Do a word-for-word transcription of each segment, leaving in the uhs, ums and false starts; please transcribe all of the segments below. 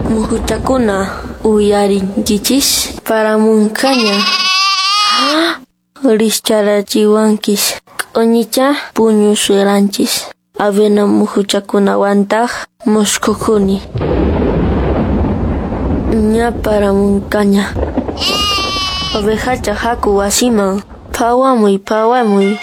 Muhuchakuna uyarinkichis paramunqaña. Rikch'arachiwanchis q'uñicha puñusharanchis. Avena muhuchakunawantaq musqhukuni. Ña paramunqaña. Ovejacha haku wasiman. Phawamuy, phawamuy.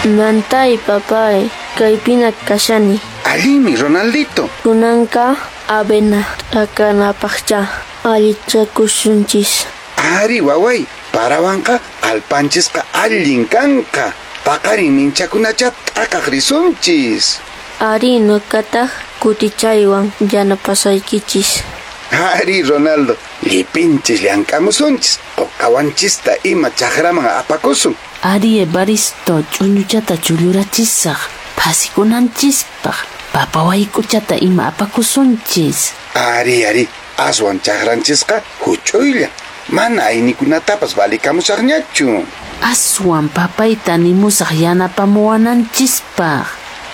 Mantay, papay, kaypina kashani. Allinmi, Ronaldito. Kunanqa avena t'akanapaqcha allichakusunchis. Ari, waway, parawanqa allpanchisqa allin kanqa. Paqarin minchakunacha t'akaq risunchis. Ari, nuqataq kutichaywan yanapasaykichis. Ari, Ronaldo, llipinchis llank'amusunchis. Quqawanchista ima chakraman apakusun. Ari, Evaristo, ch'uñuchata chullurachisaq, phasikunanchispaq, papa wayk'uchata ima apakusunchis. Ari, ari, aswan chakranchisqa huch'uylla. Mana aynikunatapas valikamusaqñachu. Aswan papayta nimusaq yanapamuwananchispaq.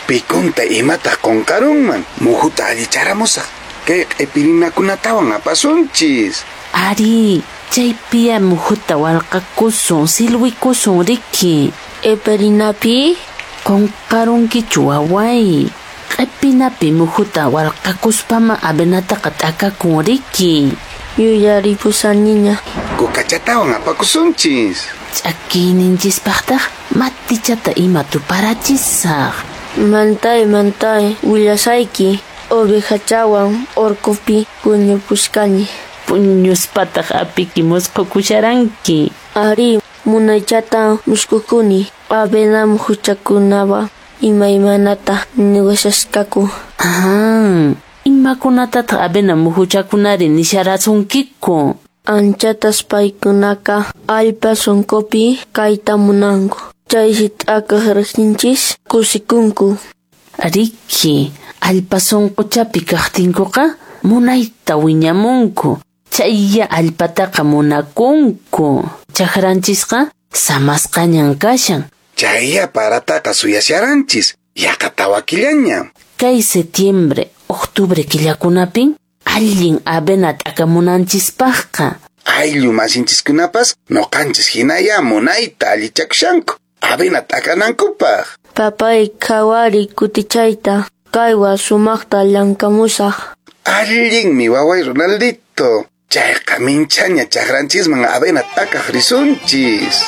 Pikunta imataq qunqarunman, muhuta allicharamusaq. Kay q'ipirinakunatawan apasunchis. Ari, chaypiya muhuta walqakusun, silwikusun riki. Q'ipirinapi? Qunqarunkichu waway. Q'ipinapi muhuta walqakuspama avenataqa t'akakun riki. Yuyaripusaniña. Kukachatawan apakusunchis. Ch'akiyninchispaqtaq matichata ima tuparachisaq. Mantay, mantay, willasayki. Ovejachawan orqopi puñupusqani. Puñuspataq apiki musqhukusharanki. Ari, munaychata musqhukuni. Avena muhuchakunawa imaymanata niwashasqaku. Ah, imakunatataq avena muhuchakunari nisharasunkiku? Anchatas paykunaqa allpa sunqupi kayta munanku. Chaysi t'akaq riqtinchis kusikunku. Riki, allpa sunquchapi kaqtinkuqa munayta wiñamunku. Chayya allpataqa munakunku. Chakranchisqa samasqañan kashan. Chayya parataqa suyasharanchis. Yaqa tawa killaña. Kay setiembre, octubre killakunapin allin avena t'akamunanchispaqqa. Ayllu masinchiskunapas nuqanchis hinaya munayta allichakushanku avena t'akanankupaq. Papay, qhawari kutichayta. Kaywan sumaqta llank'amusaq. Allinmi, waway Ronaldito. Chayqa minchaña chakranchisman avena t'akaq risunchis.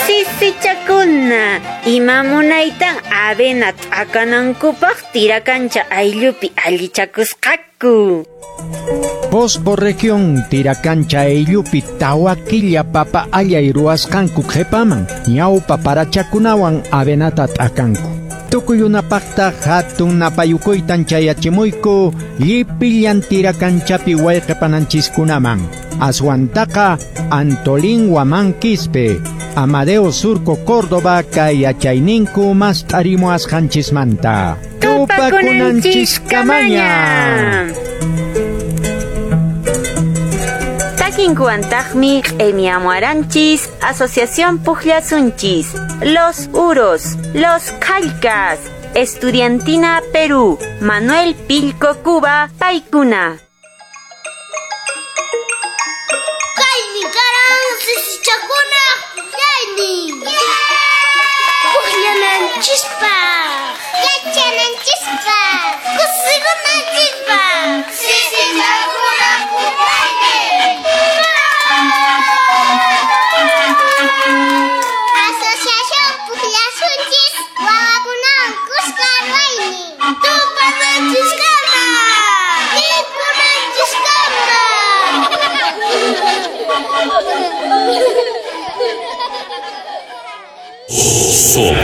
Sisichakuna, ima munaytan avena t'akanankupaq tirakancha ayllupi allichakusqaku. Posbo región tirakancha ayllupi tawa killa papa allay ruwasqanku qhipaman ñawpa parachakunawan avenata t'akanku. Tukuyunapaqta hatun napayukuytan chayachimuyku llipillan tirakanchapi wayqipananchiskunaman. Aswantaqa Antolín Huamán Quispe, Amadeo Surco Córdoba kay yachayninku mast'arimuwasqanchismanta. Tupakunanchiskamaña. Takinkuwantaqmi q'imiamuaranchis Asociación Pujllasunchis, Los Uros, Los Calcas, Estudiantina Perú, Manuel Pilco Cuba, Paikuna. Kaymi karan sisichakuna pujllaynin. Pujllananchispaq, yachananchispaq, kusikunanchispaq. Sisichakuna pujllaynin. Asociación Pujllasunchis wawakunawan kuska ruwaynin. Tupananchiskama, tinkunanchiskama. Somos